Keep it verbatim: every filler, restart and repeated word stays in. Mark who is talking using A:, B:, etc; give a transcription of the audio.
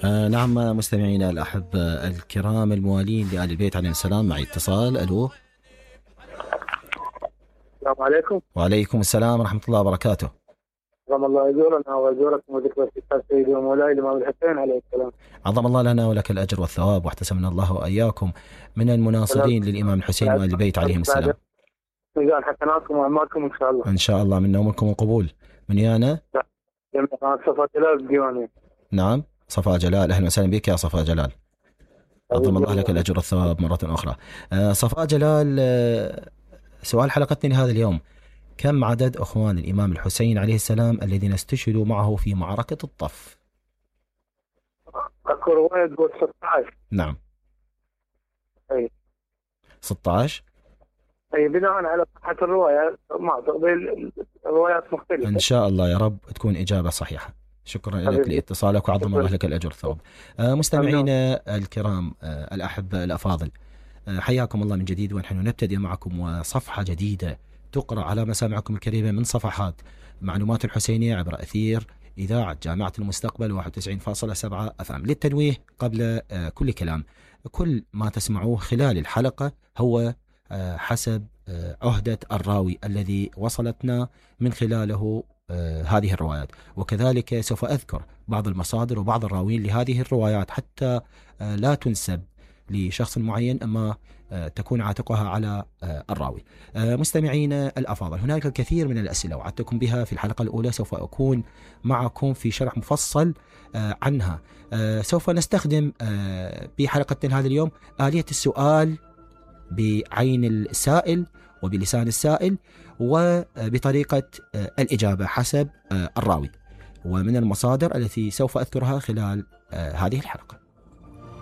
A: آه نعم مستمعينا الأحبة الكرام الموالين لآل البيت عليهم السلام، معي اتصال. ألو.
B: السلام عليكم.
A: وعليكم السلام ورحمة الله وبركاته.
B: عظم الله أجورنا وأجوركم وذكر سيدي ومولاي الإمام الحسين عليه السلام.
A: عظم الله لنا ولك الأجر والثواب، واحتسبنا الله وإياكم من المناصرين للإمام الحسين وآل البيت عليهم السلام.
B: ميزان حسناتكم وأعمالكم إن شاء الله.
A: إن شاء الله، منا ومنكم القبول. من يانا؟
B: جميعا صفاء جلال الديوانية.
A: نعم صفاء جلال، أهلا وسهلا بك يا صفاء جلال. عظم الله لك الأجر والثواب مرة أخرى. آه صفاء جلال، آه سؤال حلقتنا لهذا اليوم: كم عدد أخوان الإمام الحسين عليه السلام الذين استشهدوا معه في معركة الطف؟
B: أذكر رواية تقول ستة عشر.
A: نعم.
B: أي
A: ستة عشر.
B: أي بناء على صحة الرواية، ما تقبل الروايات مختلفة.
A: إن شاء الله يا رب تكون إجابة صحيحة. شكرا لك لاتصالك وعظم الله لك الأجر والثواب. آه مستمعينا الكرام، آه الأحبة الأفاضل، آه حياكم الله من جديد، ونحن نبتدئ معكم وصفحة جديدة تقرأ على مسامعكم الكريمة من صفحات معلومات الحسينية عبر أثير إذاعة جامعة المستقبل واحد وتسعين فاصلة سبعة أف أم. للتنويه قبل آه كل كلام، كل ما تسمعوه خلال الحلقة هو آه حسب آه عهدة الراوي الذي وصلتنا من خلاله آه هذه الروايات، وكذلك سوف أذكر بعض المصادر وبعض الراوين لهذه الروايات حتى آه لا تنسب لشخص معين، أما آه تكون عاتقها على آه الراوي. آه مستمعين الأفاضل، هناك الكثير من الأسئلة وعدتكم بها في الحلقة الأولى، سوف أكون معكم في شرح مفصل آه عنها. آه سوف نستخدم آه بحلقتنا هذا اليوم آلية السؤال بعين السائل وبلسان السائل وبطريقة الإجابة حسب الراوي، ومن المصادر التي سوف أذكرها خلال هذه الحلقة.